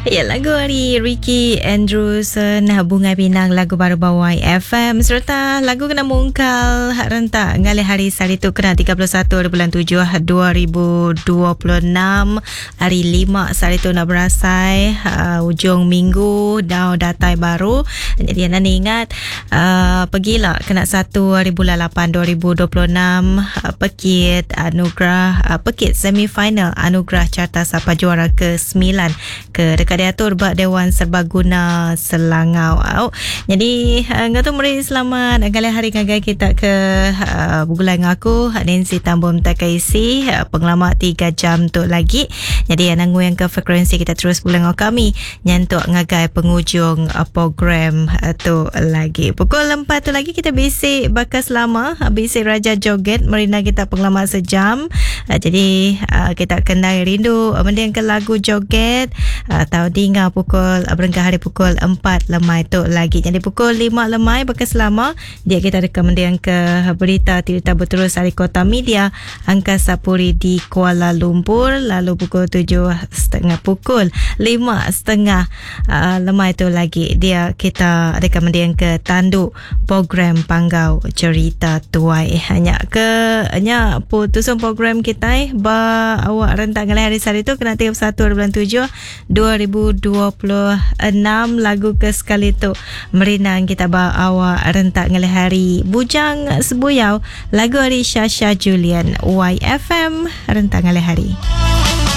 Ya, lagu ari Ricky Andrewson Bungai Pinang lagu baru ba YFM sereta lagu kena mungkal rentak ngalih hari sehari tu kena 31 hari bulan 7 2026 hari 5 sehari tu nak berasai uh, ujung minggu dah datai baru. Jadi anda ingat uh, pergilah kena 1 hari bulan 8 2026 uh, pekit anugerah uh, pekit semifinal anugerah carta sapa juara ke-9 ke deka diatur ba Dewan Serbaguna Selangau. Au. Jadi uh, ngau tu meri selamat ngalih hari ngagai kita ke uh, begulai enggau aku Nancy Tambom Takaisi uh, pengelama 3 jam tu lagi. Jadi anang nguyang ke frekuensi kita terus begulai enggau kami nyentuk ngagai pengujung uh, program uh, tu lagi. Pukul 4 tu lagi kita bisi baka selama bisi Raja Joget merina kita pengelama sejam. Uh, jadi uh, kita kena rindu uh, mending ke lagu joget atau dinga pukul berengkah hari pukul 4 lemai tu lagi. Jadi pukul 5 lemai baka selama dia kita ada mending ke berita cerita berterus hari Kota Media Angkasa Puri di Kuala Lumpur lalu pukul 7.30 pukul 5.30 uh, lemai tu lagi dia kita ada mending ke tanduk program Panggau Cerita Tuai. Hanya ke nya putusan program kita ba awak rentak ngalih hari sehari tu kena 31 bulan 7 2026 lagu ke sekali tu merinang kita ba awak rentak ngalih hari Bujang Sebuyau lagu hari Shasha Julian YFM rentak ngalih hari.